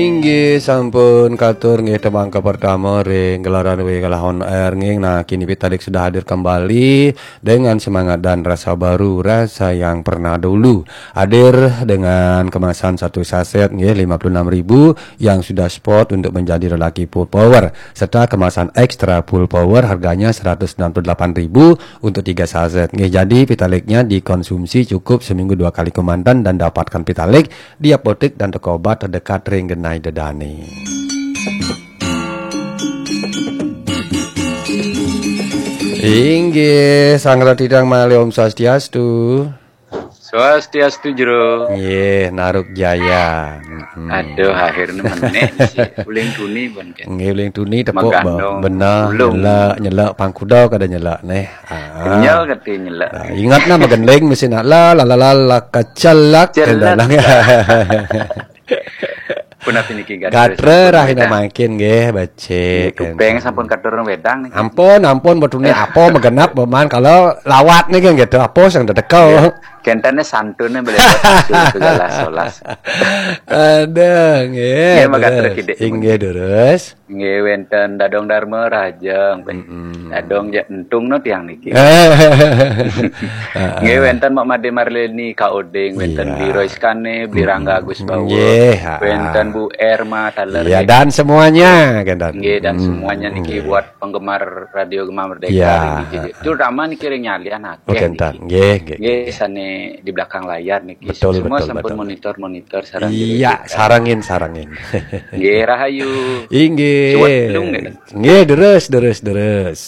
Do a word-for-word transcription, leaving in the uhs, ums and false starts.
Inggih sampun katur nggih tembang kepertama ring gelaran W Galah on Air nggih. Nah, kini Pitalik sudah hadir kembali dengan semangat dan rasa baru, rasa yang pernah dulu. Hadir dengan kemasan satu saset nggih lima puluh enam ribu yang sudah spot untuk menjadi lelaki full power, serta kemasan extra full power harganya seratus enam puluh delapan ribu untuk tiga saset nggih. Jadi Pitaliknya dikonsumsi cukup seminggu dua kali kemanten dan dapatkan Pitalik di apotek dan toko obat terdekat ring genah ida dane. Inggih, Sang Ratu Idang malih Om Swastiastu. Swastiastu, Jero. Nggih, Naruk Jaya. Mm-mm. Aduh, akhirnya menek sih. Uling tuni, Bon, kan? Nggih, uling tuni tepuk, Magandong Bon. Bener, ulung. Nyelak, nyelak pangkuda kada nyelak neh. Ah. Kenyal kati nyelak. Nah, ingat nah magending mesti nak la la la la, la kecelak. Celak. Kendang. Pun apa niki gatra? Gatra sampun rahina wedang. Mangkin nggih, becik. Nggih, tupeng sampun katur wedang niki. Ampun, ampun, betune apa magenap beman kalau lawat niki gitu, apa sing dedekel. Nggih. Kentene santune boleh buat susu segala solas. Aduh, nggih. Nggih, matur Terus. Kidik. Inggih, Terus. Nggih, wenten Dadong Dharma Rahajeng. Mm-mm. Dadong ja entung no tiang niki. Heeh. Nggih, wenten Mak Made Marleni Kaoding, wenten Iya. Bli Roy Skane, Bli Rangga Agus Bawa, Nggih, ha. Wenten Bu Erma Taler. Iya, nggih. Dan semuanya, kan, Dan. Nggih, dan Mm, semuanya niki nggih. Buat penggemar Radio Gema Merdeka Iya, ini, ha. Terutama niki ring nyalian akeh. Oke, niki. Nggih, nggih, Nggih, nggih. Sane di belakang layar niki. Betul, Semua betul, sampun betul. Monitor-monitor sareng Iya, diri kita. Sarengin, sarengin. Nggih, rahayu. Inggih. Suwet belum nggih? Nggih, Terus, Terus, Terus.